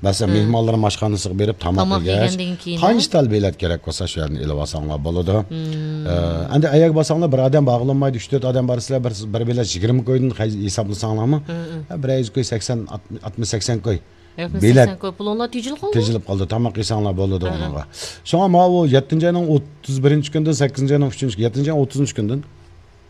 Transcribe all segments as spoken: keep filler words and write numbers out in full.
مەسىلەن، مېھمانلىرىم ئاشخانىسىغا بېرىپ تاماق تاماق يېگەچ، يېگەندىن كېيىن، قانچە تال بېلەت كېرەك بولسا، شۇ يەردىن ئېلىۋالساڭلار بولىدۇ. ئە، ئەمدى ئەيەرگە بارساڭلار، بىر ئادەم بارغىلى بولمايدۇ، ئۈچ تۆت ئادەم بارسىلەر، بىر، بىر بېلەت يىگىرمە كويدىن ھېسابلىساڭلارمۇ، ھە، بىر يۈز كوي، سەكسەن، ئاتمىش، سەكسەن كوي بېلەت تېجىلىپ قالىدۇ، تاماق يېسەڭلار بولىدۇ ئۇنىڭغا. شۇڭا ماۋۇ يەتتىنچى ئاينىڭ ئوتتۇز بىرىنچى كۈنىدىن سەككىزىنچى ئاينىڭ ئۈچىنچى، يەتتىنچى ئاينىڭ ئوتتۇزىنچى كۈنىدىن،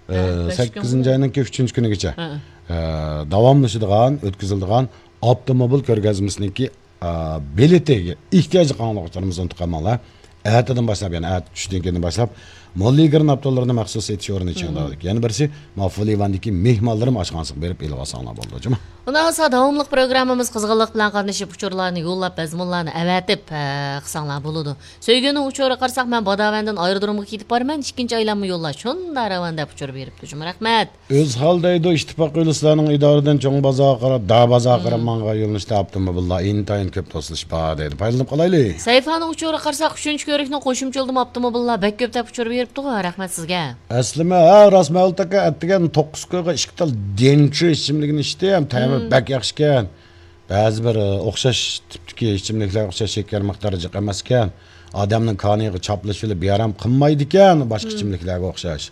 ئە، سەككىزىنچى ئاينىڭكى ئۈچىنچى كۈنىگىچە، ئە، داۋاملىشىدىغان، ئۆتكۈزۈلىدىغان ئاپتوموبىل كۆرگەزمىسىنىڭكى، ئە، بېلىتىگە ئېھتىياجلىق ئاڭلىغۇچىلىرىمىز ئۇنتۇپ قالماڭلار. ئەتىدىن باشلاپ، يەنى ئەتە چۈشتىن كېيىندىن باشلاپ، موللىگرېن ئاپتولىرىنىڭ مەخسۇس سېتىش ئورنى چىڭداۋدىكى. يەنە بىرسى، ماۋۇ فۇلىۋاندىكى مېھمانلىرىم ئاشخانىسىغا بېرىپ ئېلىۋالساڭلار بولىدۇ، جۇمۇ. ئۇنداق بولسا، داۋاملىق پروگراممىمىز قىزغىنلىق بىلەن قاتنىشىپ، ئۇچۇرلارنى يوللاپ، مەزمۇنلارنى ئەۋەتىپ، ئە، قىلساڭلار بولىدۇ. سۆيگۈنىڭ ئۇچۇرىغا قارىساق، مەن باداۋەندىن ئايرودرومغا كېتىپ بارىمەن، ئىككىنچى ئايلانما يوللاش شۇنداق راۋان دەپ ئۇچۇر بېرىپتۇ، جۇمۇ. رەھمەت. ئۆزھال دەيدۇ، ئىتتىپاق يولى سىلەرنىڭ ئىدارىدىن چوڭ بازارغا قاراپ، دار بازارغا قاراپ ماڭغان يۆنىلىشتە ئاپتوموبىللار ئىنتايىن كۆپ توسۇلۇش بار دەيدۇ. پايدىلىنىپ قالايلى. سەيفانىڭ ئۇچۇرىغا قارىساق، ئۈچىنچى كۆۋرۈكنىڭ قوشۇمچە يولىدىمۇ ئاپتوموبىللار بەك كۆپ دەپ ئۇچۇر بېرىپتىغۇ. رەھمەت سىزگە. ئەسلىمە، ھە، راست مەۋلۇت ئاكا، ئەتىگەن توققۇز كويغا ئىككى تال دېنچى ئىچىملىكىنى ئىچتىم. تەمى بەك ياخشىكەن. بەزى بىر، ئە، ئوخشاش تىپتىكى ئىچىملىكلەرگە ئوخشاش شېكەر مىقدارى جىق ئەمەسكەن. ئادەمنىڭ كانىيىغا چاپلىشىۋېلىپ بىئارام قىلمايدىكەن، باشقا ئىچىملىكلەرگە ئوخشاش.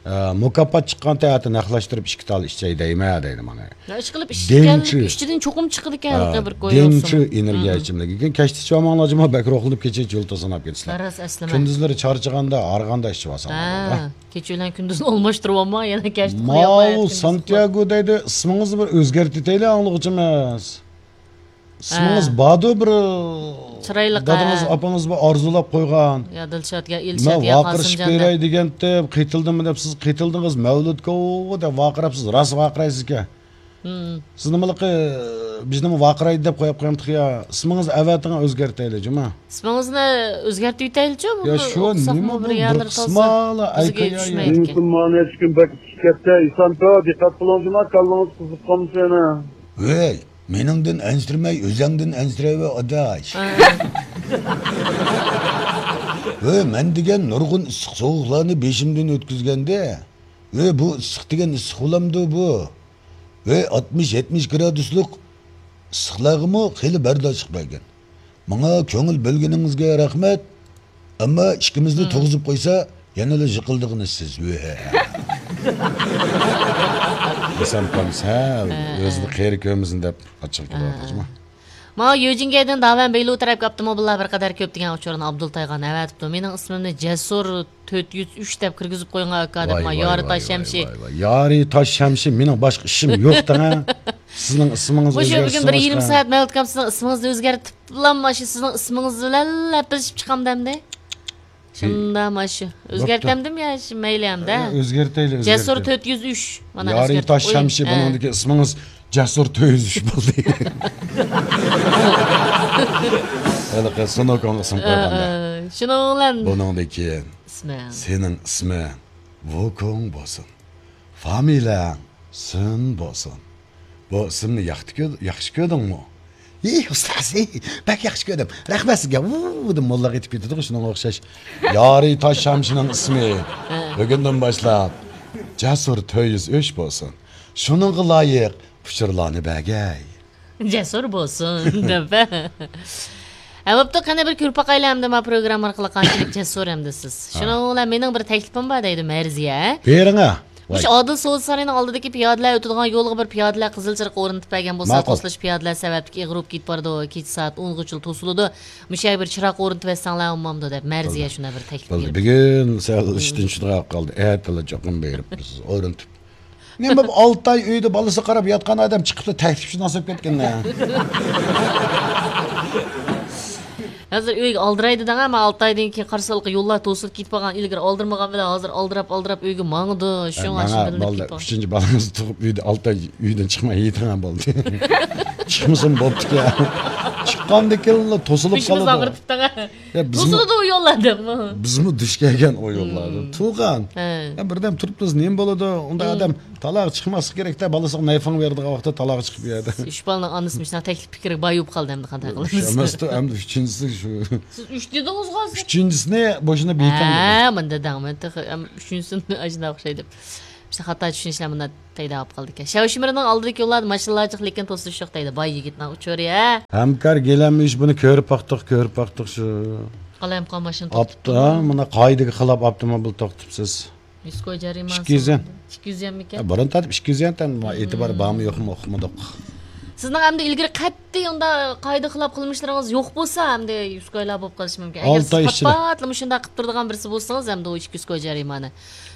ئە، مۇكاپات چىققاندا ئەتە نەقلەشتۈرۈپ ئىككى تال ئىچەي دەيمەن دەيدۇ مانا. ئىشقىلىپ ئىچكەن، دېنچى. ئىچىدىن چوقۇم چىقىدىكەن، ھە، بىر كوي دېنچى ئېنېرگىيە ئىچىملىكى. كەچتە ئىچىۋالماڭلار جۇمۇ، بەك روھلىنىپ كېچىگىچە يۇلتۇز ساناپ كېتىسىلەر. راست، ئەسلىمە. كۈندۈزلىرى چارچىغاندا، ھارغاندا ئىچىۋالساڭلار بولىدۇ. كېچە بىلەن كۈندۈزنى ئالماشتۇرۇۋالما، يەنە كەچتە ئۇخلىيالمايدىكەنسىز. ماۋۇ سانتىياگو دەيدۇ، ئىسمىڭىزنى بىر ئۆزگەرتىۋېتەيلى ئاڭلىغۇچىمىز. ئىسمىڭىز باردۇ بىر، چىرايلىق، دادىڭىز، ئاپىڭىز بىر ئارزۇلاپ قويغان. يا دىلشات، يا ئىلشات، يا قاسىمجان دەپ. مەن ۋارقىرىشىپ بېرەي دېگەنتىم، قېتىلدىممۇ دەپ سىز قېتىلدىڭىز، مەۋلۇتكو دەپ ۋارقىراپسىز، راست ۋارقىرايسىزكەن. سىز نېمىلىقى بىزنىمۇ ۋارقىرايدۇ دەپ قويۇپتۇق يا. ئىسمىڭىزنى ئەۋەتىڭ، ئۆزگەرتەيلى، جۇمۇ. ئىسمىڭىزنى ئۆزگەرتىۋېتەيلىچۇ، يا بۇنى شۇ ئوقۇساقمۇ نېمە بىر بۇ، يەرلىرى بىر تالسا قىسمالا بىزگە ئەيكەن يا. يۈزمۇ مانا ئىككى كۈن بەك ئىچىپ كەتتى. ئىسانتو، دىققەت قىلىڭ جۇما، كاللىڭىز قىزىپ قالمىسۇن يەنە. ۋەي، مېنىڭدىن ئەنسىرىمەي، ئۆزەڭدىن ئەنسىرەيۋە، ئاداش. ۋەي، مەن دېگەن نۇرغۇن ئىسسىق سوغۇقلارنى بېشىمدىن ئۆتكۈزگەندە، ۋەي، بۇ ئىسسىق دېگەن ئىسسىق بولامدۇ بۇ؟ ۋەي، ئاتمىش، يەتمىش گرادۇسلۇق ئىسسىقلارغىمۇ خېلى بەرداشلىق بەرگەن. ماڭا كۆڭۈل بۆلگىنىڭىزگە رەھمەت. ئەمما ئىككىمىزنى تۇرغۇزۇپ قويسا، يەنىلا يىقىلىدىغىنى سىز. دېسەم، قامسەل ئۆزىنى قېرى كۆرمىسۇن دەپ ئاچچىق كېلىۋاتىدۇ. ماڭا يۆجىنگەيدىن داۋەن بېيلۇ تەرەپكە ئاپتوموبىللار بىر قەدەر كۆپ دېگەن ئۇچۇرنى ئابدۇلتايغان ئەۋەتىپتۇ. مېنىڭ ئىسمىمنى جەسۇر تۆت يۈز ئۈچ دەپ كىرگۈزۈپ قويغان ئاكا دەپ، مانا يارى تاش شەمشى. ۋاي، ۋاي، ۋاي. يارى تاش شەمشى، مېنىڭ باشقا ئىشىم يوق دەڭە. سىزنىڭ ئىسمىڭىز مۇشۇ ئۆزگەرسە بۈگۈن بىر يېرىم سائەت مەۋلۇت ئاكام سىزنىڭ ئىسمىڭىزنى ئۆزگەرتىپلا، ماشۇ سىزنىڭ ئىسمىڭىز بىلەن لەپىلىشىپ چىقامدۇ ئەمدى؟ شۇنداق ماشۇ. ئۆزگەرتەمدىم يا شۇ مەيلى ئەمدى. ئە، ئۆزگەرتەيلى، جەسۇر ئۆزگەرتەيلى. تۆت يۈز ئۈچ. مانا يارى ئۆزگەرتىپ تاش قويۇڭ. شەمشى، ھە. بۇنىڭدىكى ئىسمىڭىز جەسۇر تۆت يۈز ئۈچ بولدى. ھېلىقى سۇنوكونغا ئىسىم قويغاندا. ئە، ئە، شۇنىڭ بىلەن بۇنىڭدىن كېيىن ئىسمىڭ. سېنىڭ ئىسمىڭ ۋۇكوڭ بولسۇن. فامىلەڭ سىن بولسۇن. بۇ ئىسىمنى ياخشى كۆ-، ياخشى كۆردۈڭمۇ؟ ھى، ئۇستاز، ھى، بەك ياخشى كۆردۈم. رەھمەت سىزگە. ۋۇ دەپ موللاغا ئېيتىپ كېتىدىغۇ، شۇنىڭغا ئوخشاش. يارى تاش شەمشىنىڭ ئىسمى ھە. بۈگۈندىن باشلاپ جەسۇر تۆت يۈز ئۈچ بولسۇن. شۇنىڭغا لايىق ئۇچۇرلارنى بەرگەي. جەسۇر بولسۇن دەپ. ھە، بوپتۇ، قېنى بىر كۆرۈپ باقايلى ئەمدى ما پروگرامما ئارقىلىق قانچىلىك جەسۇر ئەمدى سىز. ھە. شۇنىڭ بىلەن مېنىڭ بىر تەكلىپىم بار دەيدۇ مەرزىيە. بېرىڭە. مۇشۇ ئادىل سودا سارىيىنىڭ ئالدىدىكى پىيادىلەر ئۆتىدىغان يولغا بىر پىيادىلەر قىزىل چىرىغ ئورنىتىپ بەرگەن بولسا، ماقۇل. توسۇلۇش پىيادىلەر سەۋەبلىك ئېغىرىپ كېتىپ بارىدۇ، كېچە سائەت ئونغىچىلا توسۇلىدۇ. مۇشۇ يەرگە بىر چىراغ ئورنىتىپ بەرسەڭلار بولمامدۇ دەپ مەرزىيە بولدى. شۇنداق بىر تەكلىپ بولدى. بېرىپتۇ. بۈگۈن سەل ئىشتىن چۈشىدىغان قالدى. ئەتىلا چوقۇم بېرىپ بىز ئورنىتىپ. نېمە بۇ ئالتە ئاي ئۆيدە بالىسىغا قاراپ ياتقان ئادەم چىقىپلا تەكلىپشۇناس بولۇپ كەتكەن. ھازىر ئۆيگە ئالدىرايدۇ دەڭ، ئەمما ئالتە ئايدىن كېيىن قارىسا ھېلىقى يوللار توسۇلۇپ كېتىپ قالغان، ئىلگىرى ئالدىرمىغان بىلەن ھازىر ئالدىراپ، ئالدىراپ ئۆيگە ماڭىدۇ. شۇڭا ماڭا شۇ بىلىنىپ بالىلار كېتىپ قالغان. ئۈچىنچى بالىڭىزنى تۇغۇپ ئۆيدە ئالتە ئاي ئۆيدىن چىقماي يېتىڭە بولدى. چىقمىسىمۇ بوپتىكەن. چىققاندىن كېيىنلا توسۇلۇپ قالىدۇ. بېشىمىزنى ئاغرىتىپ دەڭ. يا، بىزمۇ، توسۇلىدۇ ئۇ يوللاردىمۇ. بىزمۇ دۇچ كەلگەن ئۇ يوللاردا. مم. تۇغان. ھە. يا، بىردەم تۇرۇپلا نېمە بولىدۇ؟ ئۇنداق ئادەم تالاغا چىقماسلىق كېرەكتە، بالىسىغا نەيفاڭ بېرىدىغان ۋاقىتتا تالاغا چىقىپ يەردە. ئۈچ بالىنىڭ ئانىسى مۇشۇنداق تەكلىپ پىكىرگە باي بولۇپ قالدى ئەمدى قانداق قىلىمىز؟ ئۈچ ئەمەستۇ، ئەمدى ئۈچىنچىسى شۇ. سىز ئۈچ دېدىڭىزغۇ ھازىر. ئۈچىنچىسىنى بوشىنا بېيىتەڭ دېدىم. ھە، مۇنداق دەڭمەن تېخى، ئەم، ئۈچىنچىسىنى ئاشۇنداق ئوخشايدۇ. خاتا چۈشىنىشلەر مۇنداق پەيدا بولۇپ قالىدىكەن. شياۋشىمىرنىڭ ئالدىدىكى يوللاردا ماشىنىلار جىق، لېكىن توسۇلۇش يوق دەيدۇ. باي يىگىتنىڭ ئۇچۇرى، ھە. ھەمكار گىلەم ئىش بۇنى كۆرۈپ باقتۇق، كۆرۈپ باقتۇق شۇ. قالايمىقان ماشىنا ئاپتو، توختىتىپتۇ. ھە، مانا قائىدىگە خىلاپ ئاپتوموبىل توختىتىپسىز. يۈسكوي جەرىمانىسى. ئىككى يۈز يەن. ئىككى يۈز يەنمىكەن؟ ھە، بۇرۇن تارتىپ ئىككى يۈز يەن تەن، مم. ئېتىبارى بارمۇ يوقمۇ ئۇقمىدۇق. سىزنىڭ ئەمدى ئىلگىرى قەتئىي ئۇنداق قائىدە خىلاپ قىلمىشلىرىڭىز يوق بولسا، ئەمدى يۈسكويلار بولۇپ قېلىشى مۇمكىن. ئەگەر ئالتە ئاي سىز ئىچىدە. پات-پاتلا مۇشۇنداق قىلىپ تۇرىدىغان بىرسى بولسىڭىز، ئەمدى ئۇ ئىككى يۈسكوي جەرىمانە.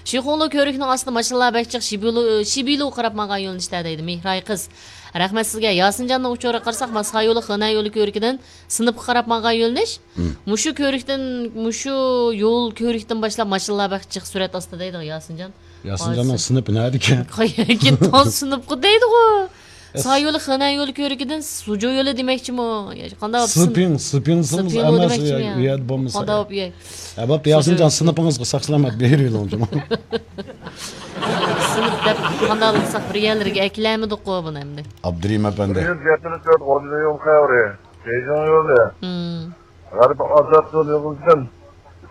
شىخۇڭلۇ كۆۋرۈكنىڭ ئاستىدا ماشىنىلار بەك جىق، شىبىلۇ، شىبىلۇ قاراپ ماڭغان يۆنىلىشتە دەيدۇ مېھراي قىز. رەھمەت سىزگە. ياسىنجاننىڭ ئۇچۇرىغا قارىساق، ماسخا يولى، خېنەن يولى كۆۋرۈكىدىن سىنىپقا قاراپ ماڭغان يۆنىلىش. مم. مۇشۇ كۆۋرۈكتىن، مۇشۇ يول كۆۋرۈكتىن باشلاپ ماشىنىلار بەك جىق سۈرئەت ئاستىدا دەيدىغۇ ياسىنجان. ياسىنجاننىڭ ھازىر سىنىپى نەدىكەن؟ قايەرگە تاز سىنىپقا دەيدىغۇ. ئەس- سا يولى، خېنەن يولى كۆۋرۈكىدىن سۇجۇ يولى دېمەكچىمۇ؟ يا، قانداق بولۇپ سىن-، سىپىڭ، سىپىڭ سىڭىز سىپىڭ يولى ئەمەس، دېمەكچىمۇ يا، يا؟ يەردە بولمىسا. قانداق بولۇپ يە؟ ھە، بوپتۇ، ياسىنجان، سىنىپىڭىزغا ساق سالامەت بېرىۋېلىڭ جۇمۇ. سىنىپ دەپ قانداق قىلساق، بىر يەرلىرىگە ئەكىلەلمىدۇققۇ بۇنى ئەمدى. ئابدۇرېھىم ئەپەندى. بىر يۈز يەتمىش تۆت ئوردا يول خەۋىرى. بېيجىڭ يولى. مم. غەربىي ئازاد يول يولىدىن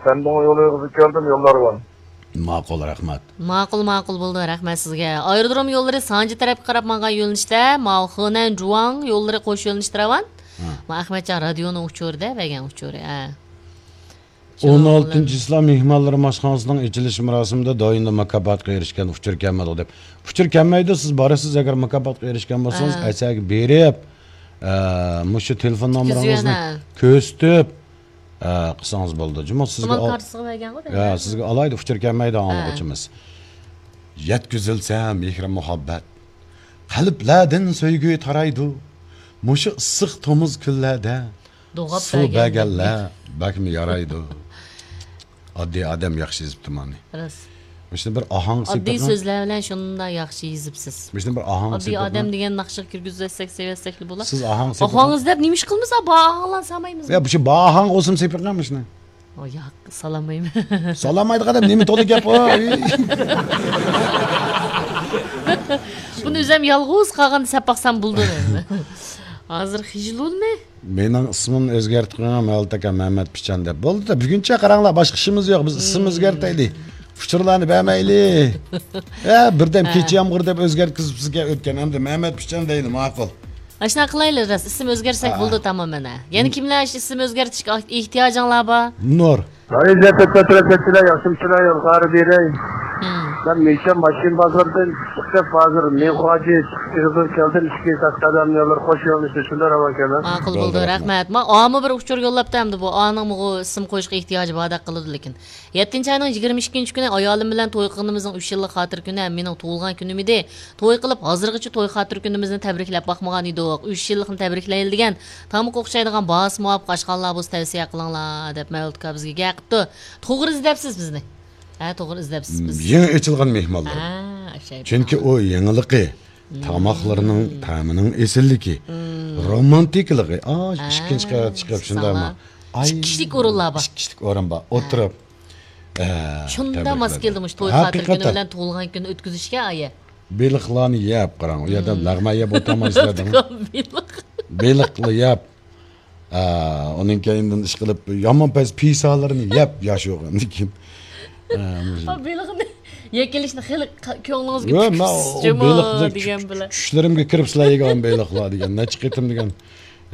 سەندۇڭ يولى يولىغا كەلدىم، يوللار بار. ماقۇل، رەھمەت. ماقۇل، ماقۇل بولدى، رەھمەت سىزگە. ئايرودروم يوللىرى سانجى تەرەپكە قاراپ ماڭغان يۆنىلىشتە، ماۋۇ خېنەن جۇاڭ يوللىرى قوش يۆنىلىشتە راۋان. ھە. ما ئەخمەتجان رادىيونىڭ ئۇچۇرىدا بەرگەن ئۇچۇرى، ھە. ئون ئالتىنچى چىسلا مېھمانلار ئاشخانىسىنىڭ ئېچىلىش مۇراسىمىدا دائىملىق مۇكاپاتقا ئېرىشكەن ئۇچۇر كەلمىدى دەپ. ئۇچۇر كەلمەيدۇ، سىز بارىسىز، ئەگەر مۇكاپاتقا ئېرىشكەن بولسىڭىز، ھە. ئەسەرگە بېرىپ، ئە، مۇشۇ تېلېفون نومۇرىڭىزنى كۆرسىتىپ، ئە، قىلسىڭىز بولىدۇ. جۇمۇ سىزگە ئال-، كارتىسىغا بەرگەنغۇ، ھە، سىزگە ئالايدۇ، ئۇچۇر كەلمەيدۇ ھە. ئاڭلىغۇچىمىز. يەتكۈزۈلسە مېھرى مۇھەببەت، قەلبلەردىن سۆيگۈ تارايدۇ. مۇشۇ ئىسسىق تومۇز كۈنلەردە دوغاپ سۇ بەرگەنلەر بەكمۇ يارايدۇ. ئاددىي ئادەم ياخشى يېزىپتۇ مانى. راست. مۇشۇنى بىر ئاھاڭ ئاددىي سېپىقىڭ. سۆزلەر بىلەن شۇنداق ياخشى يېزىپسىز. مۇشۇنى بىر ئاھاڭ ئاددىي سېپىقىڭ. ئادەم دېگەن ناخشىغا كىرگۈزۈۋەتسەك، سېلىۋەتسەكلا بولا. سىز ئاھاڭ سېپىقىڭ. ئاھاڭ ئىزدەپ نېمە ئىش قىلىمىز؟ بار ئاھاڭلارنى سالمايمىز. يا، مۇشۇ بار ئاھاڭ بولسىمۇ سېپىقىڭ مۇشۇنى. ئو، ياق، سالالمايمەن. سالالمايدىغان ئادەم نېمە تولا گەپ ئۇ؟ بۇنى ئۆزۈم يالغۇز قالغاندا سەپ باقسام بولىدۇ. ھازىر خىجىل بولدۇم. مېنىڭ ئىسمىمنى ئۆزگەرتىپ قويۇڭ، مەۋلۇت ئاكا، مەمەت پىچان دەپ. بولدى، بۈگۈنچە قاراڭلار، باشقا ئىشىمىز يوق. بىز ئىسىمنى ئۆزگەرتەيلى. ئۇچۇرلارنى بەرمەيلى. ھە، بىردەم ھە. كېچە يامغۇرى دەپ ئۆزگەرتكۈزۈپسىزكەن ئۆتكەن. ئەمدى مەمەت پىچان دەيلى، ماقۇل. ئاشۇنداق قىلايلى، راست. ئىسىم ئۆزگەرتسەك ھە. بولدى، تامام مانا. يەنە م- كىملەر ئىسىم ئۆزگەرتىشكە ئېھتىياجىڭلار بار؟ نۇر. ئەزىز ئەپەندىلەر، ياخشىمۇسىلەر، يولغا بېرەي. مم. مەن مىشەن ماشىنا بازىرىدىن چىقىپ، ھازىر مىڭخۇاجى چىقىپ كەلدىم. ئىككى تاش قەدەم يوللار قوش يۆنىلىشتە شۇنداق راۋان ئىكەن. ماقۇل بولدى، بولدى، رەھمەت. رەھمەت. ما ئامۇ بىر ئۇچۇر يوللاپتۇ ئەمدى بۇ. ئانىڭمۇ ئىسىم قويۇشقا ئېھتىياجى باردەك قىلىدۇ لېكىن. يەتتىنچى ئاينىڭ يىگىرمە ئىككىنچى كۈنى ئايالىم بىلەن توي قىلغىنىمىزنىڭ ئۈچ يىللىق خاتىرە كۈنى ھەم مېنىڭ تۇغۇلغان كۈنۈم ئىدى. توي قىلىپ، ھازىرغىچە توي خاتىرە كۈنىمىزنى تەبرىكلەپ باقمىغان ئىدۇق. ئۈچ يىللىقنى تەبرىكلەيلى دېگەن، تامىقى ئوخشايدىغان باھاسى مۇۋاپىق ئاشخانىلار بولسا تەۋسىيە قىلىڭلار، دەپ مەۋلۇت ئاكا بىزگە گەپ قىپتۇ. توغرا ئىزدەپسىز بىزنى. ھە، توغرا ئىزدەپسىز بىز. يېڭى ئېچىلغان مېھمانلار. ھە، ئوخشايدۇ. چۈنكى ئۇ يېڭىلىقى، مم. تاماقلىرىنىڭ تەمىنىڭ ئېسىللىكى، مم. رومانتىكىلىقى. ئا، ھە، ئىككىنچى قەۋەتكە چىقىپ شۇنداقمۇ؟ ئاي، ئىككى كىشىلىك ئورۇنلار بار. ئىككى كىشىلىك ئورۇن بار. ھە. ئولتۇرۇپ، ئە، شۇنداق ماس تەبرىكلەپ. كەلدى مۇشۇ توي خاتىرە كۈنى ھەقىقەتەن. بىلەن تۇغۇلغان كۈنى ئۆتكۈزۈشكە ئايە. بېلىقلارنى يەپ، قاراڭ، ئۇ يەردە مم. لەغمەن يەپ ئولتۇرمايسىلەر دەڭ. بېلىق. بېلىقلا يەپ. ئا، ئۇنىڭ كەينىدىن ئىشقىلىپ، يامان پەس پىسالىرىنى يەپ ياشىغاندىن كېيىن. ئا، مۇشۇ. ئا، بېلىقنى يەكىلىشنى خېلى ق-، كۆڭلىڭىزگە يا، مەن ئۇ پۈكۈپسىز جۇمۇ بېلىقنى دېگەن چۈش-، بىلەن. چۈشلىرىمگە كىرىپسىلەر يېگەن بېلىقلار دېگەن. نەچچە قېتىم دېگەن.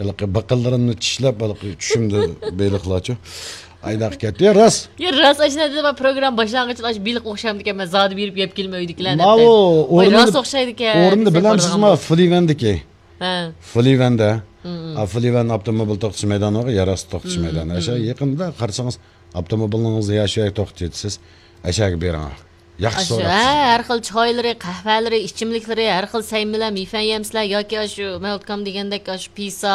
ھېلىقى بىقىنلىرىمنى چىشلەپ، ھېلىقى چۈشۈمدە بېلىقلارچۇ. ئايداق كەتتى. يا، راست. يا، راست، ئاشۇنداق دېدى، مەن پروگرامما باشلانغىچە ئاشۇ بېلىق ئوخشامدىكەن، مەن زادى بېرىپ يەپ كېلىمەن ئۆيدىكىلەرنى دەپ. ماۋۇ ۋاي، ئورنىنى، راست ئوخشايدىكەن، ئورنىنى دېسەك بىلەمسىزما؟ بارىدىغان بولسا. فلىۋەندىكى. ھە. فلىۋەندە. مم. ئا، فلىۋەن ئاپتوموبىل توختىتىش مەيدانى بار، يەر ئاستى توختىتىش مم، مەيدانى. مم. ئاشۇ يېقىندا قارىسىڭىز، ئاپتوموبىلىڭىزنى يا شۇ يەرگە توختىتىۋېتىسىز، ئاشۇ يەرگە بېرىڭ. ياخشى ئاشۇ، سوراپسىز. ھە، ھەر خىل چايلىرى، قەھۋەلىرى، ئىچىملىكلىرى، ھەر خىل سەي بىلەن مىفەن يەمسىلەر ياكى ئاشۇ مەۋلۇت ئاكام دېگەندەك ئاشۇ پىسا،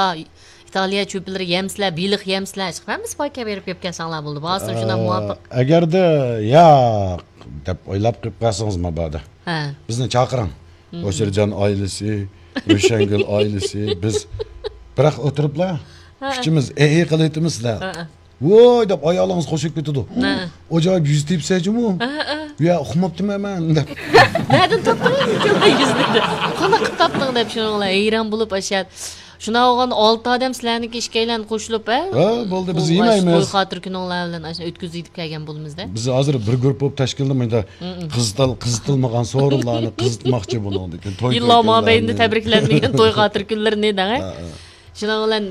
ئىتالىيە چۆپلىرى يەمسىلەر، بېلىق يەمسىلەر، ھەممىسى پاكا بېرىپ يەپ كەلسەڭلار بولدى. بارسا شۇنداق ئە، مۇۋاپىق. ئەگەردە ياق دەپ ئويلاپ قېلىپ قالسىڭىز مۇبادا، ھە. بىزنى چاقىرىڭ. مم. ھوشۇرجان ئائىلىسى، روشەنگۈل ئائىلىسى، بىز بىراق ئولتۇرۇپلا ھە. ئۈچىمىز ئېھى قىلىۋېتىمىز سىلەر. ھە. ۋوي دەپ ئايالىڭىز قوشۇپ كېتىدۇ. ھە. ئاجايىپ يۈز تېپىسەن جۇمۇ. ھە، ھە. يا، ئۇقماپتىمەن مەن دەپ. نەدىن تاپتىڭ يۈزنى؟ قانداق قىلىپ تاپتىڭ دەپ شۇنىڭ بىلەن ھەيران بولۇپ ئاشۇ شۇنداق بولغاندا ئالتە ئادەم سىلەرنىڭكى ئىككىيلەن قوشۇلۇپ، ھە؟ ھە، بولدى، بىز بۇ يېمەيمىز. توي خاتىرە كۈنۈڭلار بىلەن ئاشۇ ئۆتكۈزۈپ كەلگەن بولىمىزدە. بىز ھازىر بىر گۇرۇپپا بولۇپ تەشكىللىنىپ، مۇنداق قىزىتال قىزىتىلمىغان سورۇنلارنى قىزىتماقچى بۇنىڭدىن كېيىن. توي يىللار كۈنلەرنى. مابەينىدە تەبرىكلەنمىگەن توي خاتىرە كۈنلىرىنى دەڭە. ھە، ھە. شۇنىڭ بىلەن